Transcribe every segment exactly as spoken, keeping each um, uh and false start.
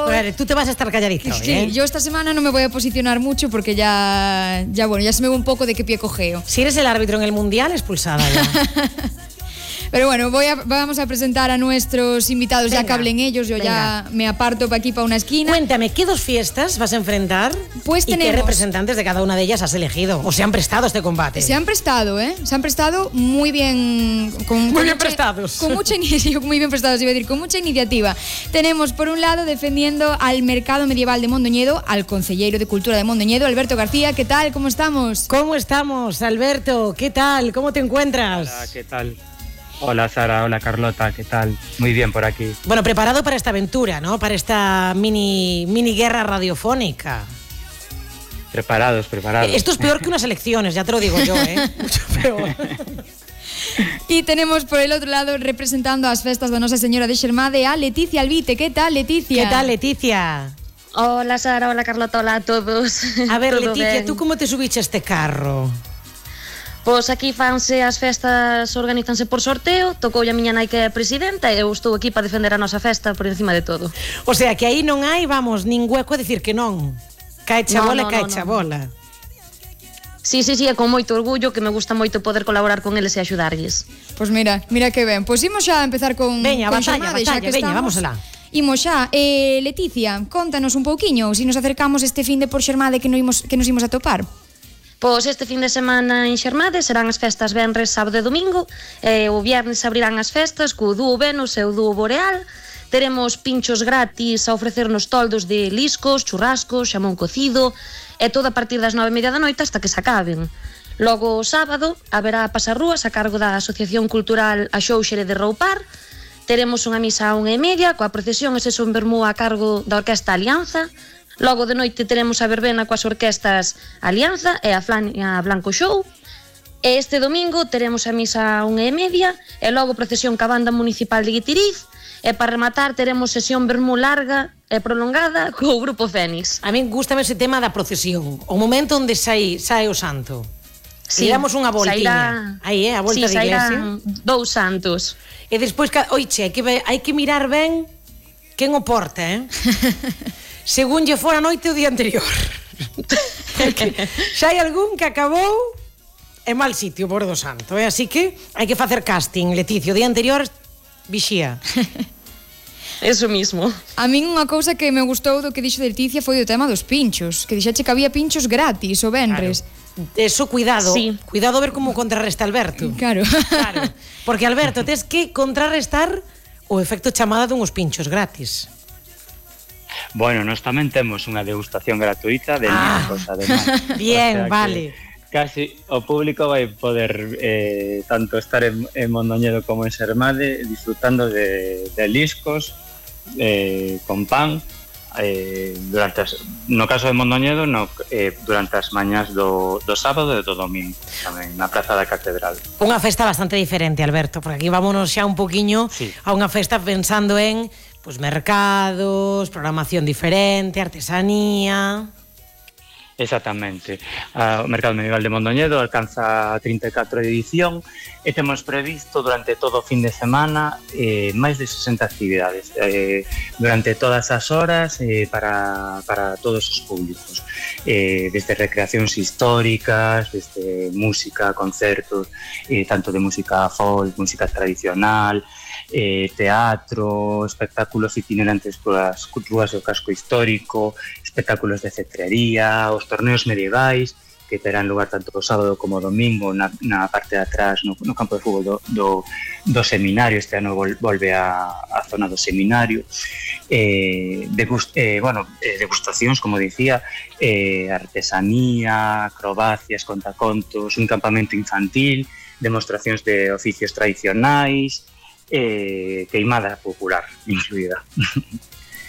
yo... Vale, tú te vas a estar calladito hoy, Sí, ¿eh? yo esta semana no me voy a posicionar mucho porque ya, ya bueno, ya se me ve un poco de qué pie cogeo. Si eres el árbitro en el Mundial, expulsada ya. Pero bueno, voy a, vamos a presentar a nuestros invitados. Venga, ya que hablen ellos, yo venga. ya me aparto para aquí, para una esquina. Cuéntame, ¿qué dos fiestas vas a enfrentar? Pues ¿Y qué tenemos- representantes de cada una de ellas has elegido? ¿O se han prestado a este combate? Se han prestado, ¿eh? Se han prestado muy bien. Con, Muy con bien mucha- prestados. Con mucha iniciativa, muy bien prestados, iba a decir, con mucha iniciativa. Tenemos, por un lado, defendiendo al mercado medieval de Mondoñedo, al concelleiro de Cultura de Mondoñedo, Alberto García. ¿Qué tal? ¿Cómo estamos? ¿Cómo estamos, Alberto? ¿Qué tal? ¿Cómo te encuentras? Hola, ¿qué tal? Hola Sara, hola Carlota, ¿qué tal? Muy bien por aquí. Bueno, preparado para esta aventura, ¿no? Para esta mini, mini guerra radiofónica. Preparados, preparados. Esto es peor que unas elecciones, ya te lo digo yo, ¿eh? Mucho peor. Y tenemos por el otro lado, representando as festas da Nosa Señora de Xermade, a Leticia Albite. ¿Qué tal, Leticia? ¿Qué tal, Leticia? Hola Sara, hola Carlota, hola a todos. A ver, Todo Leticia, ben? ¿tú cómo te subiste a este carro? Pois aquí fanse as festas, organizanse por sorteo. Tocou a miña nai que é presidenta e eu estou aquí para defender a nosa festa por encima de todo. O sea, que aí non hai, vamos, nin hueco a decir que non. Cae chabola, No, no, cae no, no. chabola. Sí, sí, sí, é con moito orgullo que me gusta moito poder colaborar con eles e axudarlles. Pois mira, mira que ben. Pois imos xa a empezar con Veña, con batalla, Xermade, xa batalla, que veña, estamos. vamos alá. Imos xa. Eh, Leticia, contanos un pouquiño, se nos acercamos este fin de por Xermade que, no imos, que nos imos a topar. Pois este fin de semana en Xermade serán as festas venres, sábado e domingo. E o viernes abrirán as festas co dúo Venus e o dúo Boreal. Teremos pinchos gratis a ofrecernos toldos de liscos, churrascos, xamón cocido e todo a partir das nove e media da noite hasta que se acaben. Logo o sábado haberá pasarrúas a cargo da Asociación Cultural A Xóuxere de Roupar. Teremos unha misa a unha e media coa procesión e sesión vermú a cargo da Orquesta Alianza. Logo de noite teremos a verbena coas orquestas Alianza e a Flania Blanco Show. E este domingo teremos a misa a unha e media e logo procesión ca banda municipal de Guitiriz. E para rematar teremos sesión vermú larga e prolongada co grupo Fénix. A mí gustame ese tema da procesión. O momento onde sai, sai o santo. Sí, e damos unha voltiña. Aí, eh, a volta sí, da iglesia. Dous santos. E despois, oiche, hai que, hai que mirar ben quen o porta, eh? Según lle fora a noite o día anterior. Xa hai algún que acabou en mal sitio, por do santo, eh? Así que hai que facer casting, Leticia. O día anterior, vixía. Eso mismo. A min unha cousa que me gustou do que dixo de Leticia foi o tema dos pinchos, que dixache que había pinchos gratis o venres. Claro. Eso, cuidado. Sí. Cuidado a ver como contrarresta Alberto. Claro. Claro. Porque, Alberto, tes que contrarrestar o efecto chamada dunhos pinchos gratis. Bueno, nós tamén temos unha degustación gratuita de Ah. liscos, además. Bien, O sea que vale. Casi o público vai poder eh, tanto estar en, en Mondoñedo como en Xermade disfrutando de, de liscos eh, con pan eh, durante as, no caso de Mondoñedo no, eh, durante as mañás do, do sábado e do domingo tamén na Praza da Catedral. Unha festa bastante diferente, Alberto, porque aquí vámonos xa un poquiño Sí. a unha festa pensando en pues, mercados, programación diferente, artesanía. Exactamente. Uh, o Mercado Medieval de Mondoñedo alcanza a trinta e catro edición e temos previsto durante todo o fin de semana eh, máis de sesenta actividades eh, durante todas as horas eh, para, para todos os públicos, eh, desde recreacións históricas, desde música, concertos, eh, tanto de música folk, música tradicional, eh, teatro, espectáculos itinerantes polas rúas do casco histórico, espectáculos de cetrería, os torneos medievais que terán lugar tanto o sábado como o domingo na, na parte de atrás no, no campo de fútbol do, do, do seminario. Este ano vol, volve a, a zona do seminario. eh, degust, eh, bueno, eh, degustacións, como dicía, eh, artesanía, acrobacias, contacontos, un campamento infantil, demostracións de oficios tradicionais, eh, queimada popular incluída.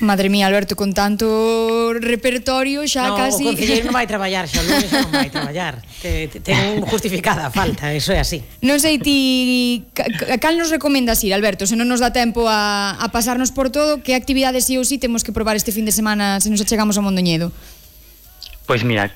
Madre mía, Alberto, con tanto repertorio xa No, casi... o concelleiro non vai traballar, xa o lunes non vai traballar. Te, te, ten justificada a falta, eso é así. Non sei ti ca- ca- cal nos recomendas ir, Alberto, se non nos dá tempo a, a pasarnos por todo, que actividades sí ou sí temos que probar este fin de semana se nos achegamos a Mondoñedo? Pois mira,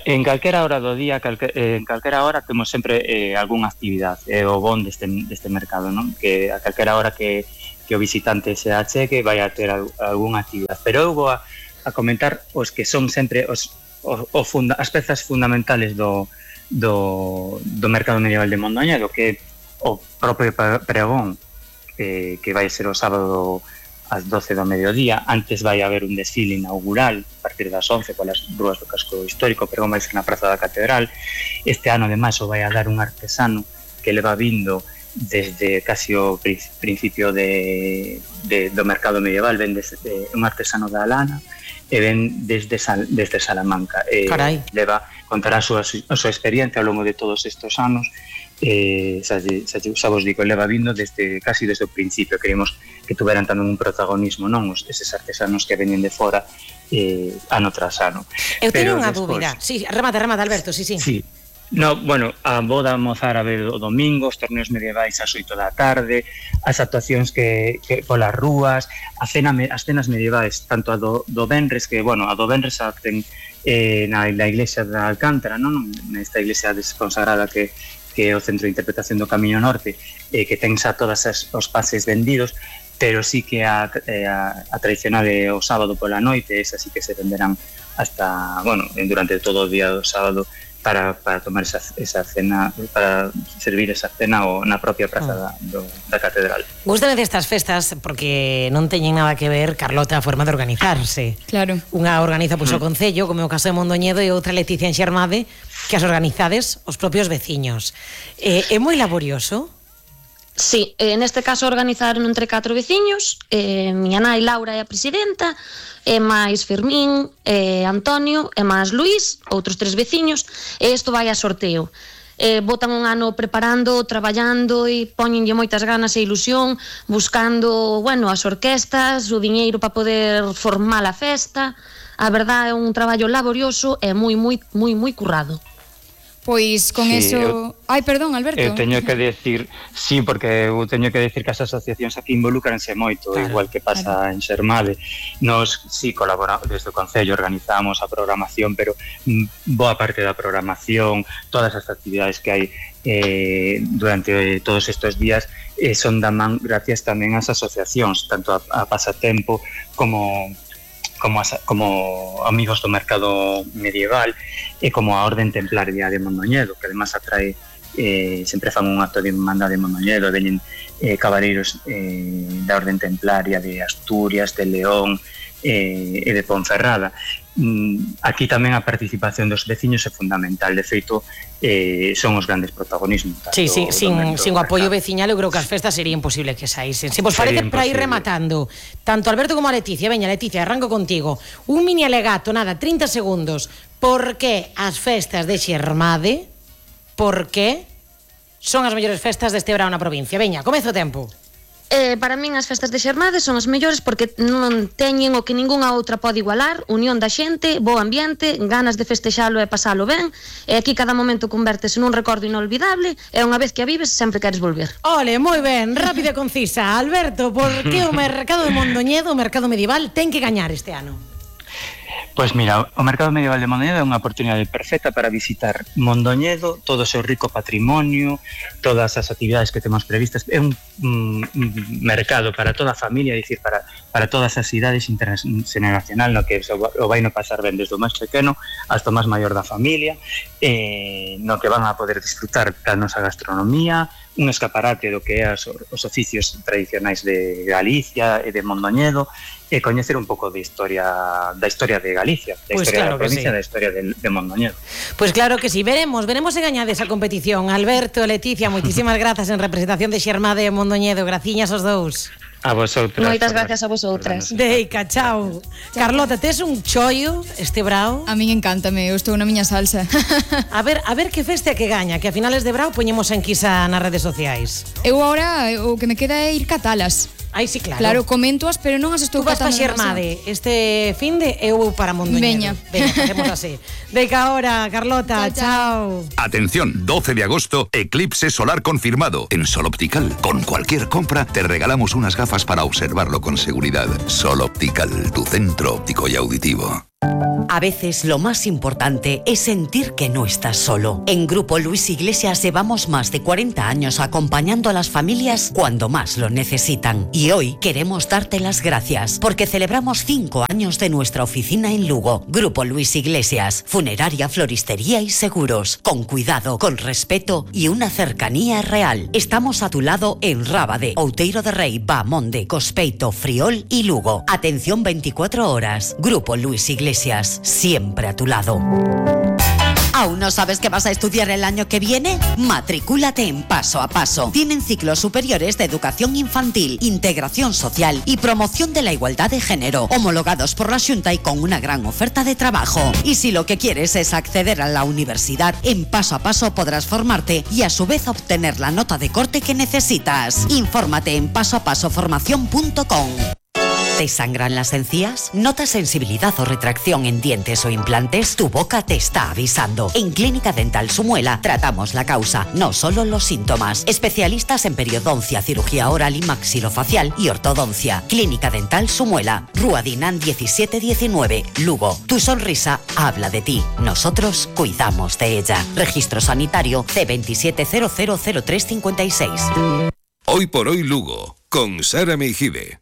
en calquera hora do día, calque, eh, en calquera hora temos sempre eh, algunha actividade, é eh, o bon deste, deste mercado, non? Que a calquera hora que que o visitante se achegue vai a ter algunha actividade. Pero eu vou a, a comentar os que son sempre os, o, o funda, as pezas fundamentales do, do, do mercado medieval de Mondoñedo, que é o propio pregón, eh, que vai ser o sábado ás doce do mediodía. Antes vai haber un desfile inaugural a partir das once polas rúas do casco histórico, pero vai ser na Praza da Catedral. Este ano, ademais, o vai a dar un artesano que leva vindo desde casi o principio de, de, do mercado medieval. Ven desde, eh, un artesano da lana e ven desde, Sal, desde Salamanca. Eh, Carai. Leva, contará a súa, a súa experiencia ao longo de todos estes anos. Eh, xa, xa, xa vos digo, leva vindo desde casi desde o principio. Queríamos que tuveran tamén un protagonismo, non os, eses artesanos que veñen de fora eh, ano tras ano. Eu teño Pero unha despois, dúbida. Sí, remata, remata, Alberto, sí, sí. Sí. No, bueno, a boda mozárabe o domingo, os torneos medievais ás oito da tarde, as actuacións que, que polas rúas, a cena, as cenas medievais, tanto a do, do Benres, que, bueno, a do Benres a ten eh, na, na iglesia da Alcántara, non? Nesta iglesia desconsagrada que que é o Centro de Interpretación do Camiño Norte, eh, que ten xa todas as, os pases vendidos, pero sí que a, a, a tradicional é o sábado pola noite, esa sí que se venderán hasta, bueno, durante todo o día do sábado, para, para tomar esa, esa cena, para servir esa cena o na propia praza da, do, da Catedral. Gústame destas festas porque non teñen nada que ver, Carlota, a forma de organizarse. Claro. Unha organiza pois, o Concello, como é o caso de Mondoñedo, e outra Leticia en Xermade, que as organizades os propios veciños. Eh, é moi laborioso? Sí, eh, neste caso organizaron entre catro veciños, eh, miña nai Laura é a presidenta, e máis Fermín, e Antonio, e máis Luís, outros tres veciños, e isto vai a sorteo. Eh, botan un ano preparando, traballando e poñenlle moitas ganas e ilusión, buscando, bueno, as orquestas, o diñeiro para poder formar a festa. A verdade é un traballo laborioso e moi, moi, moi, moi currado. Pois con Sí, eso... eu- Ai, perdón, Alberto. Eu teño que decir, sí, porque eu teño que decir que as asociacións aquí involucranse moito, Claro, igual que pasa en Xermade. Nos, sí, colaboramos desde o Concello, organizamos a programación, pero mm, boa parte da programación, todas as actividades que hai eh, durante eh, todos estes días eh, son da man gracias tamén ás asociacións, tanto a, a Pasatempo como como, as, como amigos do mercado medieval e como a Orden Templaria de Mondoñedo, que además atrae, eh, sempre fan un acto de Irmandade de Mondoñedo, veñen eh, cabaleiros eh, da Orden Templaria de Asturias, de León eh, e de Ponferrada. Mm, aquí tamén a participación dos veciños é fundamental, de feito eh, son os grandes protagonismos. Sí, sí, sin, sin o apoio veciño. veciñal eu creo que as festas sería imposible que saísen. Se vos Sería parece, para ir imposible. rematando, tanto Alberto como a Leticia, veña Leticia, arranco contigo, un mini alegato, nada, trinta segundos, por que as festas de Xermade, por que son as mellores festas deste verano na provincia? Veña, comezo o tempo. Eh, para min as festas de Xermade son as mellores porque non teñen o que ningunha outra pode igualar, unión da xente, bo ambiente, ganas de festexalo e pasalo ben, e aquí cada momento convértese nun recordo inolvidable e unha vez que a vives sempre queres volver. Ole, moi ben, rápida e concisa. Alberto, por que o mercado de Mondoñedo, o mercado medieval, ten que gañar este ano? Pois mira, o Mercado Medieval de Mondoñedo é unha oportunidade perfecta para visitar Mondoñedo, todo o seu rico patrimonio, todas as actividades que temos previstas. É un, un, un mercado para toda a familia, é dicir, para, para todas as idades intergeneracional, no que o vai no pasar ben desde o máis pequeno hasta o máis maior da familia, eh, no que van a poder disfrutar da nosa gastronomía, un escaparate do que é as, os oficios tradicionais de Galicia e de Mondoñedo, e coñecer un pouco de historia da historia de Galicia, da Pois historia claro da que provincia, sí. da historia de, de Mondoñedo. Pois claro que sí, veremos, veremos se gañades a competición. Alberto, Leticia, moitísimas grazas en representación de Xermade e Mondoñedo. Graciñas aos dous. A vosotras. Moitas por- gracias a vosotras. por darnos- Deica, chao. Carlota, tes un chollo este brao? A min encántame, eu estou na miña salsa. A ver, a ver que feste que gaña, que a finales de brao poñemos en quisa nas redes sociais. Eu agora o que me queda é ir catalas. Aí sí, claro. Claro, comentoas, pero non as estou Tú vas para catando demasiado. Xermade este fin de eu para Mondoñedo. Veña. Veña, facemos así. Deica ahora, Carlota, Chao, chao. Atención, doce de agosto, eclipse solar confirmado. En Sol Optical, con cualquier compra, te regalamos unas gafas para observarlo con seguridad. Sol Optical, tu centro óptico y auditivo. A veces lo más importante es sentir que no estás solo. En Grupo Luis Iglesias llevamos más de cuarenta años acompañando a las familias cuando más lo necesitan. Y hoy queremos darte las gracias porque celebramos cinco años de nuestra oficina en Lugo. Grupo Luis Iglesias, funeraria, floristería y seguros. Con cuidado, con respeto y una cercanía real. Estamos a tu lado en Rábade, Outeiro de Rei, Bamonde, Cospeito, Friol y Lugo. Atención veinticuatro horas. Grupo Luis Iglesias. Siempre a tu lado. ¿Aún no sabes qué vas a estudiar el año que viene? Matricúlate en Paso a Paso. Tienen ciclos superiores de educación infantil, integración social y promoción de la igualdad de género, homologados por la Xunta y con una gran oferta de trabajo. Y si lo que quieres es acceder a la universidad, en Paso a Paso podrás formarte y a su vez obtener la nota de corte que necesitas. Infórmate en paso a paso formación punto com. ¿Te sangran las encías? ¿Notas sensibilidad o retracción en dientes o implantes? Tu boca te está avisando. En Clínica Dental Sumuela tratamos la causa, no solo los síntomas. Especialistas en periodoncia, cirugía oral y maxilofacial y ortodoncia. Clínica Dental Sumuela, Rúa Dinán diecisiete diecinueve, Lugo. Tu sonrisa habla de ti. Nosotros cuidamos de ella. Registro sanitario C veintisiete cero cero cero tres cincuenta y seis. Hoy por hoy Lugo, con Sara Meijide.